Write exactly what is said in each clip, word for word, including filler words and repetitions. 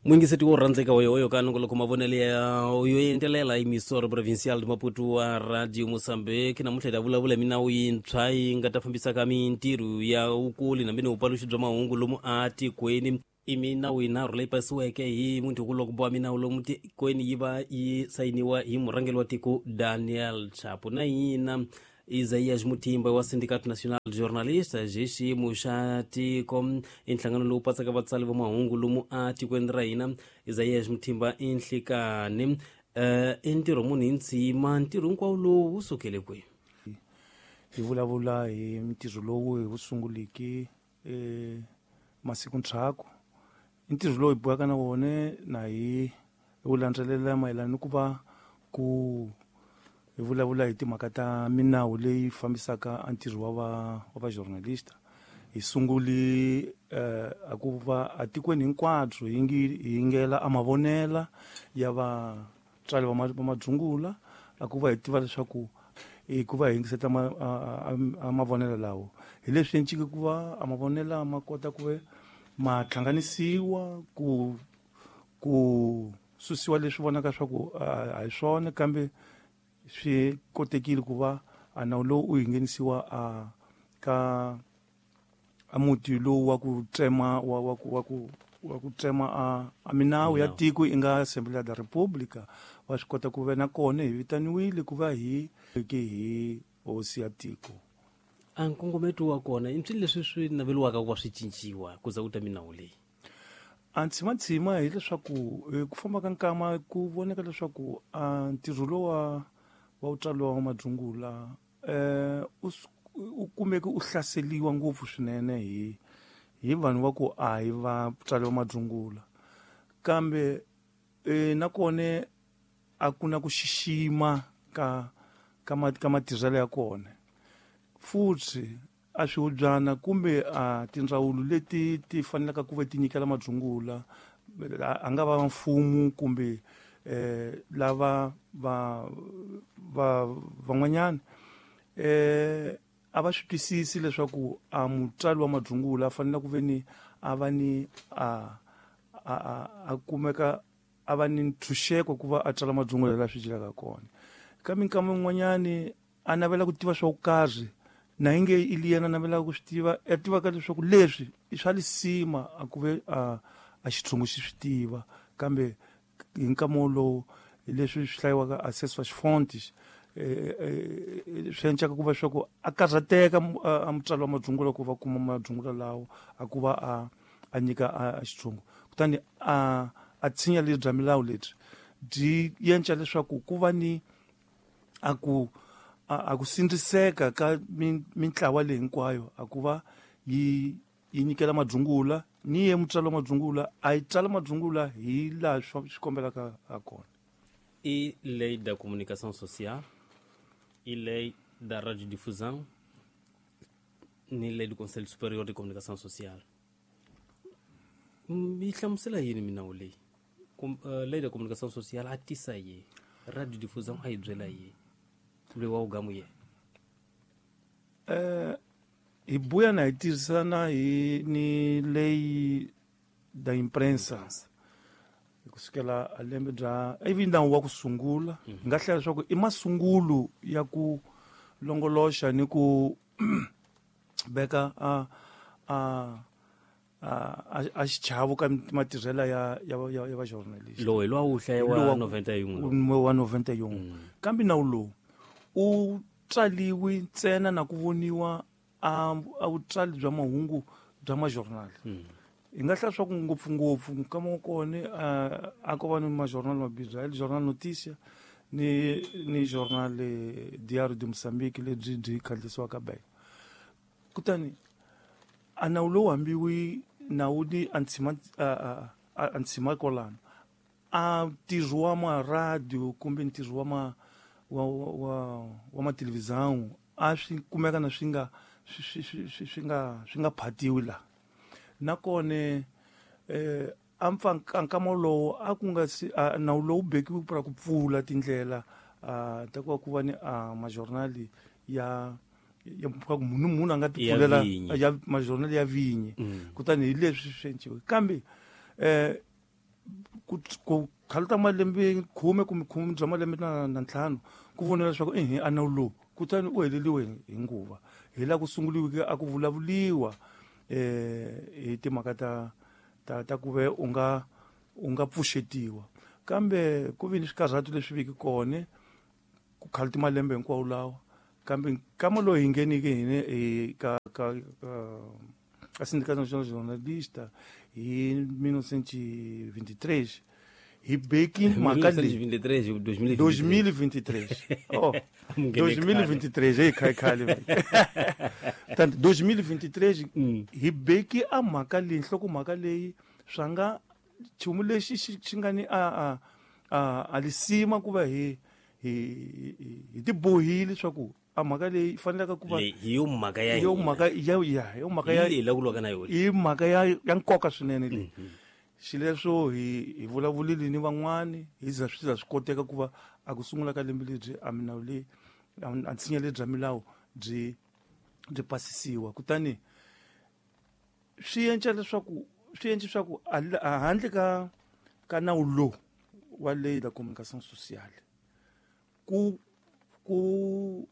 Mwingiseti wo rhandzeka oyo ka nongoloko mavonelo ya yo endelela emissora provincial de Maputo wa Radio Mozambique. Namuntlha hi ta vulavula hi minawu yintshwa yi nga ta fambisaka mintirho ya vukuli na mina vupaluxi bya mahungu lomu atikweni. I minawu yinharhu leyi pasiweke hi munhu wa minawu lomu tikweni yi va yi sayiniwa hi murhangeri wa tiko Daniel Chapo. Na yina Isaías Mutimba wa Sindicato Nacional de Jornalistas hi xiyimo xa tiko, i nhlangano lowu patsaka vatsali va mahungu lomu atikweni ra hina. Isaías Mutimba i nhlikani um i ntirho munhu hi ndzima, ntirho hinkwawo lowu wu sukele kwihi? Hi vulavula hi ntirho lowu hi wu sunguliki um masiku ndzhaku. I ntirho lowu hi bohaka na wona na hi wu landzelela mayelana ni ku va ku hi vulavula hi timhaka ta minawu leyi fambisaka a ntirho wa va wa va journalista. Hi sunguli eh a ku va atikweni hinkwabyo hi ngi hi ngela a mavonela ya vatswari va madzungula, a ku va hi tiva leswaku hi ku va hi yingiseta a mavonelo lawo. Hi leswi encike ku va a mavonela ma kota ku ve ma hlanganisiwa ku ku susiwa leswi vonaka swa ku a hi swona, kambe swi kotekile ku va a nawu lowu u nghenisiwa a ka a muti lowu wa ku tsema wa wa ku wa ku wa ku tsema a a minawu ya tiko i nga Assembleia da República. Wa swi kota ku ve na kona hi vitaniwile ku va hi ke hi hosi ya tiko. A nkongometo wa kona i swilo leswi swi naveliwaka ku va swi cinciwa ku za ku ta minawu leyi? A ntshima hileswaku ku famba ka nkama ku voneka leswaku a ntirho lowa wa wutswalo wa madzungula eh u kumeke u hlaseliwa ngopfu swinene hi hi vanhu va ku a hi vatswari va madzungula, kambe eh nakona a ku na ku xixima ka ka ka matirhelo ya kona. Futhi a swihubyana kumbe a tindzawulo leti ti fanelaka ku va ti nyikela madzungula, a nga va mfumo kumbe eh lava va va van'wanyana eh a va swi twisisi leswaku a mutswari wa madzungula a fanele ku ve ni a va ni a a a kumeka a va ni ntshunxeko ku va a tsala madzungula laha swi dyelaka kona. Ka minkama yin'wanyani a navela ku tiva swo karhi na inge i yena navela ku swi tiva, a tivaka leswaku leswi i swa lisima a ku ve a a xitshungu xi swi tiva, kambe hi nkama wolowo leswi swi hlayiwaka acesso às fontes swi encaka ku va swa ku a karhateka a mutswari wa madzungula ku va kuma madzungula lawo a ku va a a nyika a xitshungu. Kutani a a tshinya lebyi bya milawu lebyi byi yenca leswaku ku va ni a ku a ku sindziseka ka mintlawa leyi hinkwayo a ku va yi yi nyikela madzungula ni ye mutswari wa madzungula a yi tsala madzungula hi laha swi kombelaka ha kona. I lei da comunicação social, e lei da radiodifusão, ni lei do Conselho Superior de Comunicação Social. Mi hlamusela yini minawu leyi? Lei da comunicação social a tisa yi, radiodifusão a yi byela yi, loyi wa wugamu ye. Eh hi buya na hi tirhisana hi ni lei da imprensa kusukela a lembe bya ivi nawu wa ku sungula hi nga hlaya leswaku i masungulo ya ku longoloxa ni ku veka a a a a xichavo ka matirhelo ya ya ya va journalist. Lowu hi lowa wu hlaya wa noventa e um wa noventa e um. Kambe nawu lowu u tsaliwi ntsena na ku voniwa a a vutsali bya mahungu bya majournal. Hi nga hlaya swa ku ngopfungopfu nkama wa kona a ko va ni majournal mabirhi, el Jornal Notícia ni ni Jornal Diário de Moçambique lebyi byi khandziyisiwaka Beira. Kutani a nawu lowu hambiwi nawu ni a ntshima a ntshima kwalano a ntirho wa maradio kumbe ntirho wa ma wa wa wa matelevisão a swi kumeka na swi nga swi swi swi nga swi nga phatiwi la. Nakona eh a mpfa nkama lowu a ku nga si nawu lowu bekiwe ku ku pfula tindlela ta ku va ku va ni majournal ya ya munhu munhu a nga ti pfulela ya majournal ya vinyi. Kutani hi leswi swi enciwe, kambe eh ku ku khalta malembe khume kumbe khume bya malembe na na ntlhanu ku vona leswaku ehe a nawu lowu kutani u heleliwe hi nguva hi laha ku sunguliweke a ku vulavuliwa eh hi timhaka ta ta ta ku ve u nga u nga pfuxetiwa kambe ku vi ni swikarhatu leswi viki kona ku khalta malembe hinkwawo lawa kambe nkama lowu hi nghenike hina ka ka ka Sindicato Nacional de Jornalistas hi mil novecentos e vinte e três hi beki mhaka leyi dois mil e vinte e três oh dois mil e vinte e três ei khale khale tanto dois mil e vinte e três hi beki a mhaka leyi nhlokomhaka leyi swa nga nchumu lexi xi nga ni a a a a lisima ku va hi hi hi tibohile leswaku a mhaka leyi fanelaka ku va hi yo mhaka ya yo mhaka ya ya yo mhaka ya leyi la ku lwaka na yona i mhaka ya ya nkoka swinene leyi xileswo hi hi vulavulile ni van'wani hi za swi za swi koteka ku va a ku sungula ka lembe lebyi a milawu leyi a nsinya lebyi bya milawu byi byi pasisiwa kutani swi endla leswaku swi endla leswaku a handle ka ka nawu lowu wa lei da comunicação social ku ku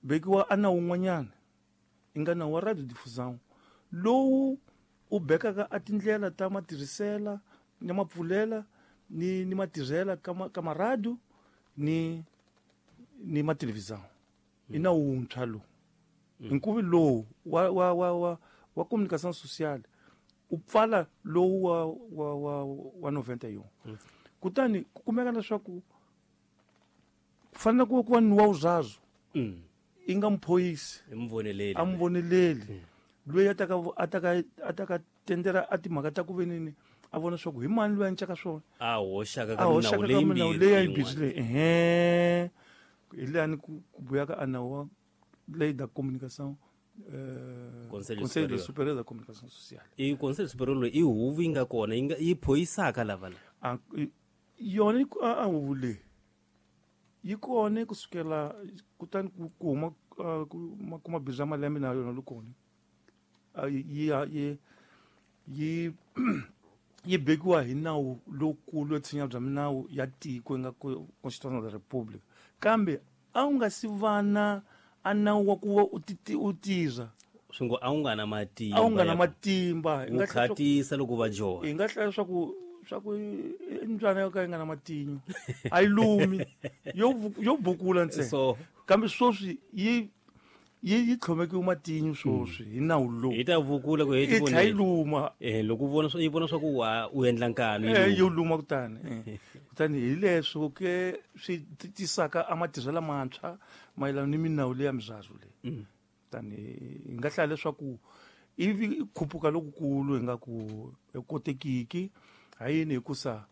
vekiwa a nawu wun'wanyana i nga nawu wa radiodifusão lowu u bekaka a tindlela ta matirhisela ni mapfulela ni ni matirhela ka ka maradio ni ni matelevisão i nawu wuntshwa lowu nkuvi lowu wa wa wa wa wa comunicação social u pfala lowu wa wa wa wa noventa e um kutani ku kumeka leswaku ku fanele ku va ni wa wuzazwo i nga muphoyisi a muvoneleli loyi a taka a taka a taka tendera a timhaka ta ku venini a vona swa ku hi mani loyi a encaka swona a hoxaka ka milawu leyi milawu leyi ya yimbirhi leyi ehe hi leyani ku buyaka a nawu wa lei da comunicação eh Conselho Superior da Comunicação Social i Conselho Superior i huvo yi nga kona yi nga yi phoyisaka lava la yona a huvo leyi yi kona kusukela kutani ku huma ku mabindzu ya malembe na yona kona yi yi yi yi bekiwa hi nawu lowukulu yo tshinya bya minawu ya tiko yi nga Constitution of the Republic kambe a wu nga si vana a nawu wa ku va u u tirha swi ngo a wu nga na matimba a wu nga na matimba wu khatisa loko va joha hi nga hlaya leswaku swa ku i mbyana yo ka yi nga na matinyo a yi lumi yo yo bukula ntsena so kambe sweswi yi yi yi tlhomekiwe matinyo sweswi hi nawu lowu yi ta vukula ku yi tlhela yi luma eh loko u vona yi vona swa ku wa u endla nkanu eh yo luma kutani kutani hi leswo ke swi tisaka a matirhelo lamantshwa mayelana ni minawu leya mizazwo leyi kutani hi nga hlaya leswaku ivi khuphuka lokukulu hi nga ku kotekiki ha yini hikusa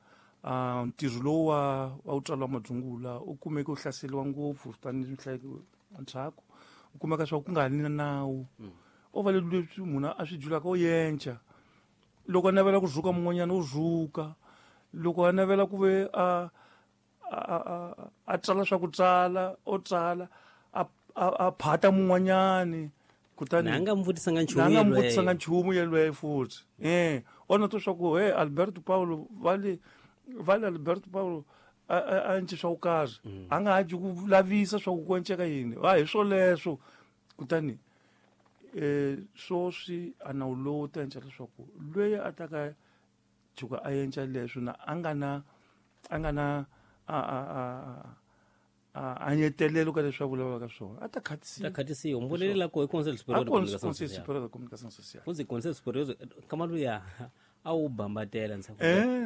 uh, ntirho lowu wa wa wutswala wa madzungula u kumeke u hlaseriwa ngopfu tanihi ndzhaku u kumeka swa ku nga ha ni na nawu o va leswi munhu a swi julaka u yenca loko a navela ku rhuka mun'wanyana u rhuka loko a navela ku ve a a a a tsala swa ku tsala o tsala a a phata mun'wanyani kutani na nga mvutisanga nchumu na nga mvutisanga nchumu yelweyo futhi eh ona to swa ku he Alberto Paulo vale vale Alberto Paulo a a nci swa ku karhi a nga ha ji ku lavisa swa ku enceka yini ha hi swoleswo kutani eh swoswi a nawu lowu ta enca leswaku loyi a ta ka tshuka a enca leswo na a nga na a nga na a a a a nyetelelo ka leswi a vulavulaka swona a ta khatisiwa ta khatisiwa mvonelo la ko i Conseil Superior de Comunicação Conseil Superior de Comunicação Social futhi Conseil Superior kamalu ya a wu bambatela ntsako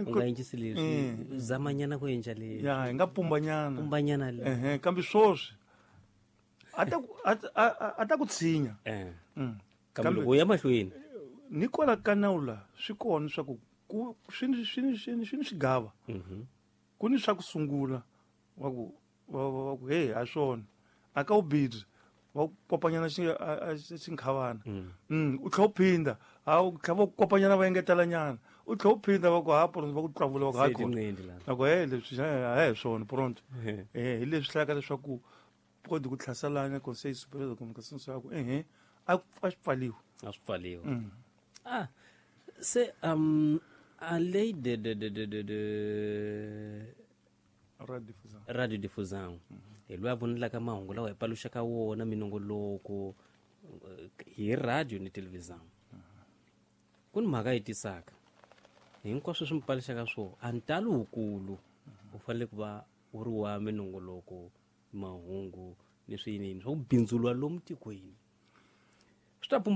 u nga encisi leswi zamanyana ku enca leswi ya hi nga pumbanyana pumbanyana le ehe kambe swoswi a ta a ta ku tshinya eh kambe loko u ya mahlweni ni kwala ka nawu la swi kona swa ku ku swi swi swi swi ni swigava ku ni swa ku sungula wa ku wa wa ku hey a swona a ka u bidzi wa kopanyana xi xinkhavana mm u tlhela u phinda ha u tlhela va kopanyana va engetelanyana u tlhela u phinda va ku ha pronto va ku tlavula va ku ha kona na ku he leswi a hi swona pronto eh hi leswi hlayaka leswaku kodi ku tlhaselana Conseil Superior de Comunicação Social ku ehe a swi pfaliwa a swi pfaliwa ah se um A lei de de de de de de radiodifusão radiodifusão hi loyi a vonelaka mahungu lawa hi paluxaka wona minongoloko eh, hi radio ni televisão. Ku ni mhaka yi tisaka hinkwaswo swi mi paluxaka swo a ntalo wukulu u fanele ku va wu ri wa minongoloko mahungu ni swiyiniyini swa ku bindzuriwa lomu tikweni swi ta pumba.